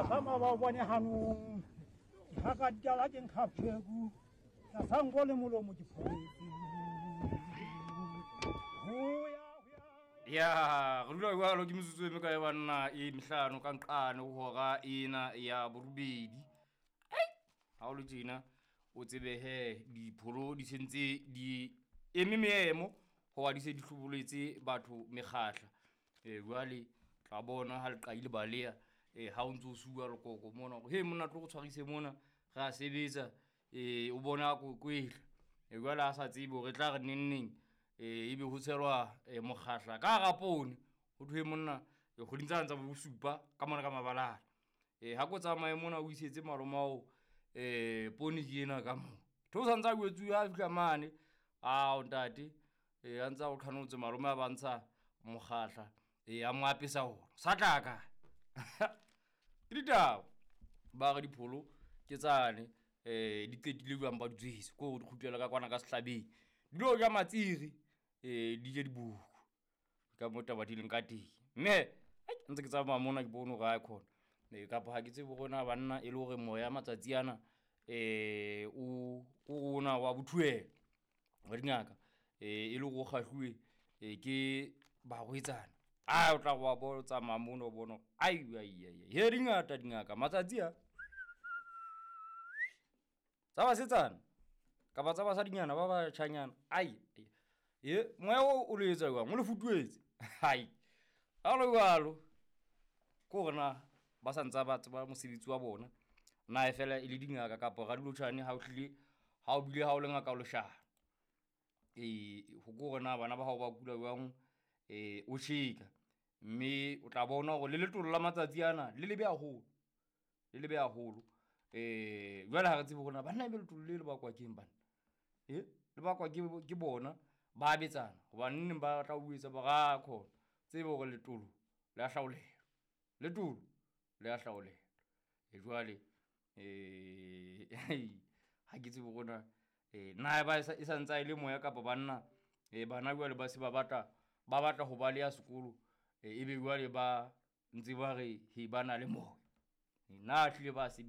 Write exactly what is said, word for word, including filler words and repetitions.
Tlasa ba o bone hanong. Ha ka ditala ke nkga pheku. Tlasa nko le molomo ke pholetse. Ho ya ho ya. Ya, re dula jwalo ke metsotso e mekae banna e mehlano ka nqane ho hora ena ya borobedi. Ai, ha o le tjena o tsebe he dipholo di sentse di eme meemo hoba di se di hloboletse batho mekgahla. Eh jwale tla bona ha le qadile baleha eh ha o ntso suwa lekoko mona hore he monna tlo re tshwarise mona re a sebetsa eh o bona ko kwetla. Eh jwale ha sa tsebe hore e tla re neng neng eh ebe ho tshelwa eh mokgahla ka hara poone. Ho thwe monna eh kgweding tsane tsa bo bosupa ka mona ka mabalane. Eh ha ko tsamaye mona o isetse malome ao eh poone ke ena ka mo. Tho santsa a jwetsuwe ha fihla mane. Ao ntate eh a ntsa o qhanotse malome a ba ntsha mokgahla eh a mo apesa ona. Sa tla ka. Ke ditaba. Ba re dipholo ke tsane eh di qetile jwang ba di tswetse ko di kgutlela ka kwana ka sehlabeng. Di lo ja matsiri eh di je diboko. Ka mo taba di leng ka teng. Mme ai ntse ke tsamaya mona ke bone hore ha khona. Eh kapa ha ke tsebe hore na banna e le hore moya matsatsi ana eh o o ona wa bothuela wa dingaka eh e le hore o kgahluwe eh ke barwetsana. Ah o tla wa bona o tsamaya mona o bona ai ai ai he dingata dingaka matsatsi a tsa basetsana kapa tsa basadinyana ba batjhanyana ai e moya o o le etsa jwang o le futuetse hai ha le jwalo ke hore na ba sa ntsa ba tseba mosebetsi wa bona na e fela e le dingaka kapa radilotjhane ha o hlile ha o bile ha o le ngaka o leshano. Eh ho ke hore na bana ba hao ba kula jwang eh o tjheka mme o tla bona hore le letolo la matsatsi ana le lebe haholo le lebe haholo. Eh jwale ha re tsebe hore na banna ebe letolo le le bakwa keng banna eh le bakwa ke ke bona ba betsana hobane neng ba tla o etsa ba ra khona tsebe hore letolo le a hlaolelwa letolo le a hlaolelwa. E jwale eh ha ke tsebe hore na eh na ba e sa ntsa e le moya kapa banna eh bana jwale ba se ba batla ba batla ho ba le ya sekolo e be jwale ba ntse ba re he ba na le moya na hlile ba sebetsa.